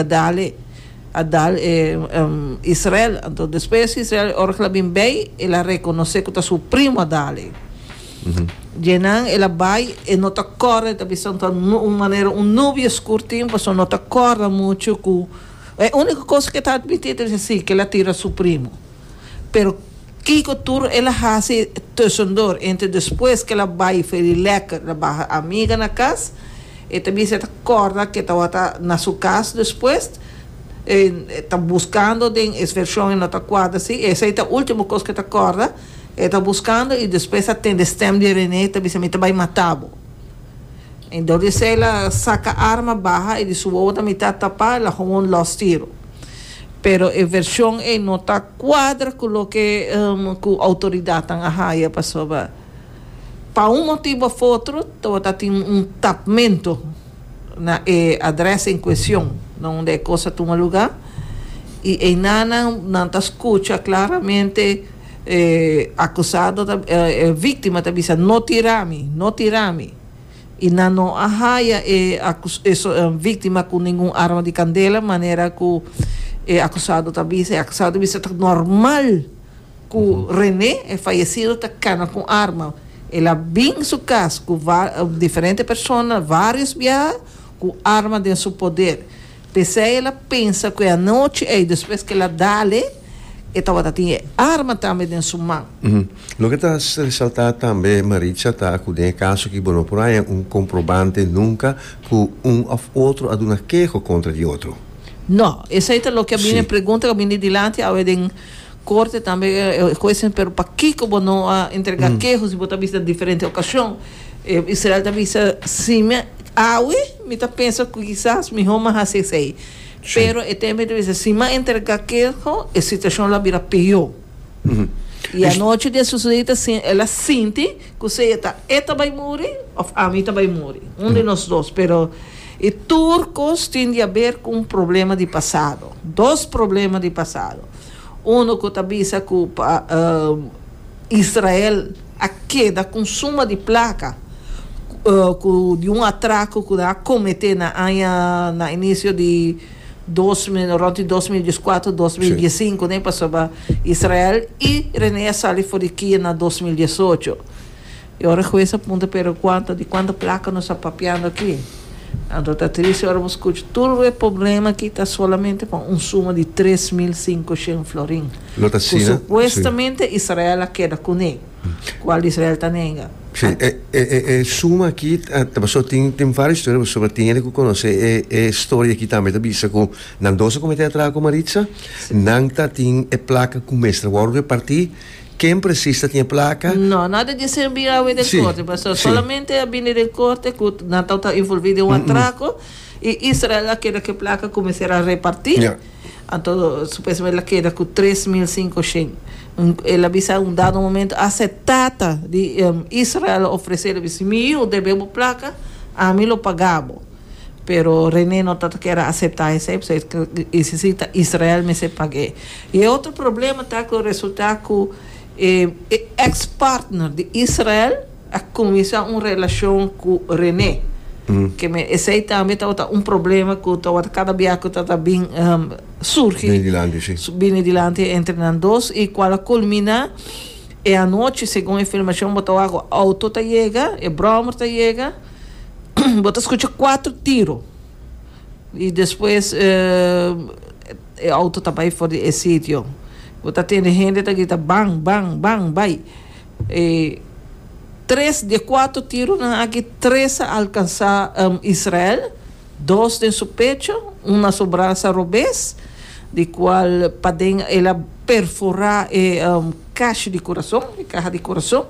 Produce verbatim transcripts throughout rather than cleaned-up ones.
Dal e, a dal e um, Israel. Anto despues Israel, ora ku el a bin bei, el a rekonosé ku ta su primo a dal e. Djenan el a bai, e no ta kòrda, e ta bisa ta un manera un nubia skur tin, pasobra no ta kòrda muchu ku e úniko kos ku e ta atmití ta bisa si, ku el a tira su primo. Pero kiko tur el a hasi tussendoor, entre despues ku el a bai for di lèker, el a baha amiga na kas, e ta bisa e ta kòrda ku e tabata na su kas despues, e ta buskando den es vershon e no ta kuadra si, esei ta último kos ku e ta kòrda, e ta buskando i despues a tende stèm di René ta bisa: "Mi ta bai mata bo." En dor di esei el a saka arma baha i di su wowo ta mitad tapá, el a gewoon lòs tiro. Pero e vershon ei no ta kuadra ku loke ku outoridatnan a haya, pasobra pa un motibu òf otro tabata tin un tapmentu na e adrès en kuestion na unda e kos a tuma lugá i einanan nan ta skucha klaramente e akusado ta e víktima ta bisa: "No tira mi, no tira mi." I nan no a haya e e víktima ku ningun arma di kandela manera ku e akusado ta bisa. E akusado ta bisa ta normal ku René, e fayesido, ta kana ku arma. El a bin su kas ku diferente persona vários biaha ku arma den su poder. P'esei el a pensa ku e anochi ei, despues ku el a dal e, e tabata tin e arma tambe den su man. Loke ta resaltá tambe, Maritza, ta ku den e kaso aki bo no por haña un komprobante nunka ku un òf otro a duna keho kontra di otro. No, esei ta loke a bini, e pregunta ku a bini dilanti awe den korte tambe, e hues a pero pakiko bo no a entregá keho si bo ta bisa diferente okashon? Israel ta bisa, si mi awe mi ta pensa ku kisas mihó mi a hasi esei, pero e tempu mi ta bisa si mi a entregá keho e situashon lo a bira peó. I anochi di e susedí ta el a sinti ku sea ta e ta bai muri òf ami ta bai muri, un di nos dos, pero e tur kos tin di haber ku un problema di pasado, dos problema di pasado. Uno ku ta bisa ku pa Israel a keda ku un suma di plaka ku di un atrako ku nan a kometé na aña na inisio di dos mil, rònt di dos mil dieskuater, dos mil diesinku, ne, pasobra Israel i René a sali for di kia na dos mil diesocho. E ora hues a puntra: "Pero kuantu, di kuantu plaka nos a papiando aki?" Anto ta triste ora bo skucha tur e problema aki ta solamente pa un suma di tres mil sinku shen florin Lo ta ku asina, sí. supuestamente Israel a keda kuné, kual Israel ta nenga. Sí, e, e, e, e suma aki ta pasobra tin tin varios historia, pasobra tin hende ku konosé e e storia aki tambe ta bisa ku nan dos a kometé atrako, Maritza, nan ta tin e plaka ku mester wòrdu repartí. Ken presis ta tin e plaka? No, nada di esei a bini awe den Sí, korte, pasobra sí. solamente a bini den korte ku nan tabata envolví den un atrako i Israel a keda ku e plaka ku mester a repartí. Ja. Anto supuestamente el a keda ku tres mil sinku shen. El a bisa un dado momento hasta e tata di Israel a ofresé, el a bisa: "Mi yu debe bo plaka, ami lo paga bo." Pero René no ta kier a aseptá esei, pasobra e si ta Israel mester pag'é. I e otro problema ta ku resultá ku e ex partner di Israel a kuminsá un relashon ku René. Ke men esei tambe tabata un problema ku tabata kada bia ku tabata bin surgi. Bini dilanti, si. Bini dilanti entre nan dos i kual a kulminá e anochi, segun e filmashon bo ta wak ku outo ta yega, e bròmer ta yega, bo ta skucha kuater tiro i despues e outo ta bai for di e sitio. Bo ta tende hende ta grita ban, ban, ban, bai. E tres di e kuater tironan aki, tres a alkansá Israel, dos den su pecho, un na su brasa robes, di kual paden el a perforá e kashi di kurason, e kaha di kurason,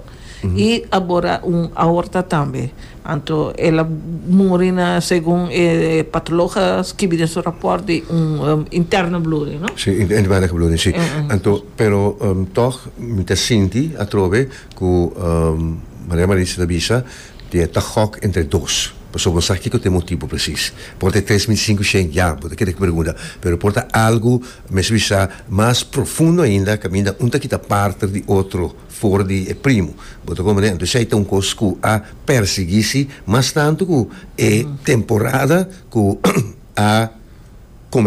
i a bora un aorta tambe. Anto el a muri na, segun e patoloog a skibi den su rapòrt, di un interne bloeding, no? Sí, interne bloeding, sí. Anto, pero tòg mi ta sinti atrobe ku Maria Maritza ta bisa di e ta gòk entre dos. Pasobra bo sa kiko ta e motibu presis. Por ta e tres mil sinku shen, ya, bo ta keda ku pregunta. Pero por ta algu, mester bisa, mas profundo ainda, kaminda un ta kita parter di otro for di e primo. Bo ta komprendé? Anto esei ta un kos ku a persiguí si mas tantu ku e temporada ku a